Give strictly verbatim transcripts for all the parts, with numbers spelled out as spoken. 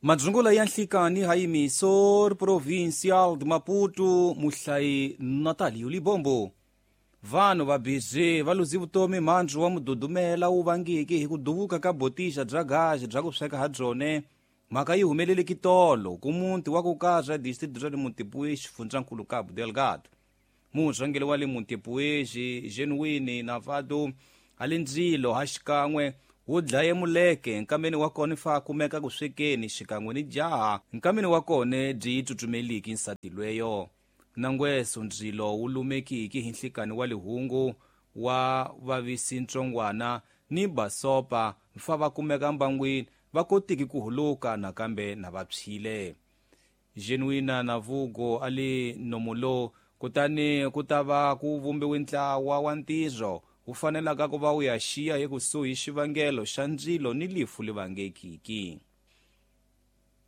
Madzungula ya nhlikani ha Provincial de Maputo, muhlayi Natalio Libombo. Vanhu va bizi va luzi vutomi mandzu wa mududumela wu vangiki hi ku duvuka ka botixa bya gazi bya ku sweka ha byone. Mhaka yi humeleleke tolo ku muti wa ku kaza distrito ra le Montepuez, xifundzankulu Cabo Delgado. Murhangeri wa le Montepuez, Genuine Navado, a le ndzilo ha xikan'we wu dlaye muleke nkameni wa kona fa kumeka ku swekeni xikan'we ni jaha nkameni wa kona byi tsutsumeliki nsati lweyo. Nangweso ndzilo wu lumekiki hi nhlikani wa lihungu wa vavisi ntsongwana ni basopa fa va kumeka mbangwini va kotiki ku huluka nakambe na va phyile. Genuina Navugo a le nomulo kutani ku ta va ku vumbiwe ntlawa wa ntirho wu fanelaka ku va wu ya xiya hi kusuhi xivangelo xa ndzilo ni lifu li vangekiki.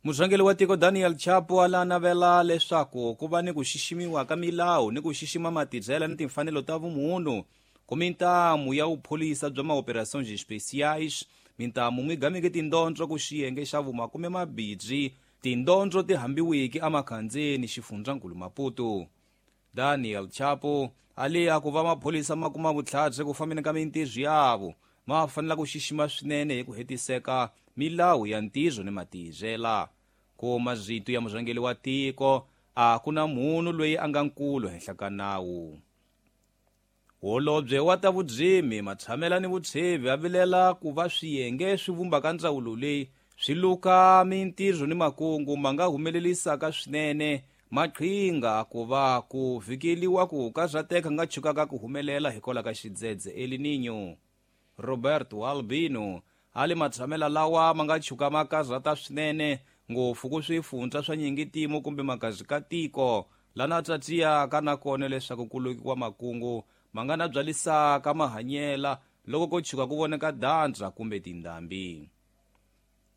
Murhangeri wa tiko Daniel Chapo a la navela leswaku ku va ni ku xiximiwa ka milawu ni ku xixima matirhelo ni timfanelo ta vumunhu ku mintamu ya vupholisa bya maoperações especiais mintamu n'wi gameke tindondzo ku xiyenge xa vumakume mabirhi tindondzo ti hambiwiki emakhandzeni xifundzankulu Maputo. Daniel Chapo a le a ku va mapholisa ma kuma vutlhari ku fambeni ka mintirho yavo ma fanela ku xixima swinene hi ku hetiseka milawu ya ntirho ni matirhela. Ku mazito ya murhangeri wa tiko a ku na munhu loyi a nga nkulu henhla ka nawu. Holobye wa ta vudzimi matshamela ni vutshevi a vilela ku va swiyenge swi vumbaka ndzawulo leyi swi luka mintirho ni makungu ma nga humelelisaka swinene maqhinga ku va ku vhikeliwa ku karhateka nga chukaka ku humelela hikwalaho ka xidzedze El Niño. Roberto Albino a le matshamela lawa ma nga chuka ma karhata swinene ngopfu ku swifundza swa nyingitimo kumbe makazi ka tiko lana tsatsiyaka nakona leswaku ku lukiwa makungu ma nga na byalisaka mahanyela loko ko chuka ku voneka dandza kumbe tindhambi.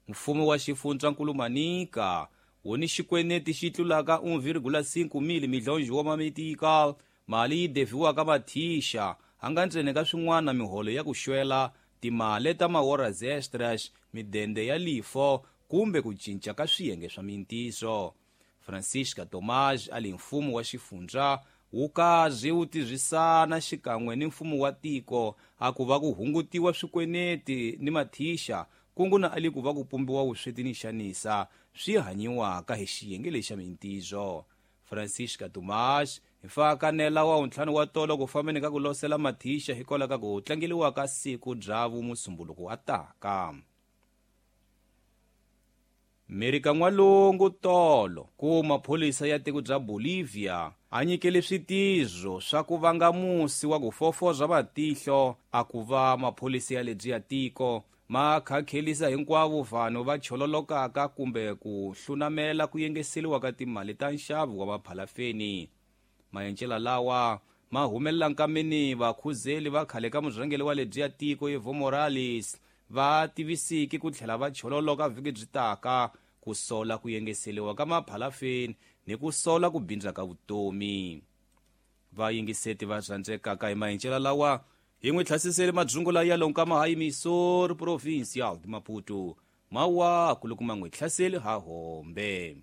Mfumo wa xifundzankulu Manica wu ni xikweneti xi tlulaka un vírgula cinco mil milhões wa mamitikal mali yi deviwaka mathixa a nga ntsena ka swin'wana miholo ya ku xwela timali ta mahoras extras midende ya lifo kumbe ku cinca ka swiyenge swa mintiso. Francisca Tomás a le mfumo wa xifundza wu kazi wu tirhisana xikan'we ni mfumo wa tiko a ku va ku hungutiwa swikweneti ni mathixa kungu na ali ku va ku pumbiwa vusweti ni xanisa swi hanyiwaka hi xiyenge lexa mintiso. Francisca Tomás hi fa kanela wa ntlhanu wa tolo ku fambeni ka ku losela mathixa hikwalaho ka ku tlangeliwa ka siku bya vumusumbuluko wa taka. Merika N'walungu tolo ku mapholisa ya tiko bya Bolivia a nyikele switizo swa ku vanga musi wa ku fofoza matihlo a ku va mapholisa ya lebyi ya tiko ma khakhelisa hinkwavo vanhu va chololokaka kumbe ku hlunamela ku yengeseliwa ka timali ta nxavo wa maphalafeni. Mayencela lawa ma humelela nkameni vakhuzeli va khale ka murhangeri wa lebyi ya tiko Evo Morales va tivisiki ku tlhela va chololoka vhiki byi taka ku sola ku yengeseliwa ka maphalafeni ni ku sola ku bindza ka vutomi. Vayingiseti va rhandzekaka hi mayencela lawa hi n'wi tlhasisele madzungula ya lonkama ha Missouri Provincial de Maputo mawaku loko ma n'wi hlaseli ha hombe.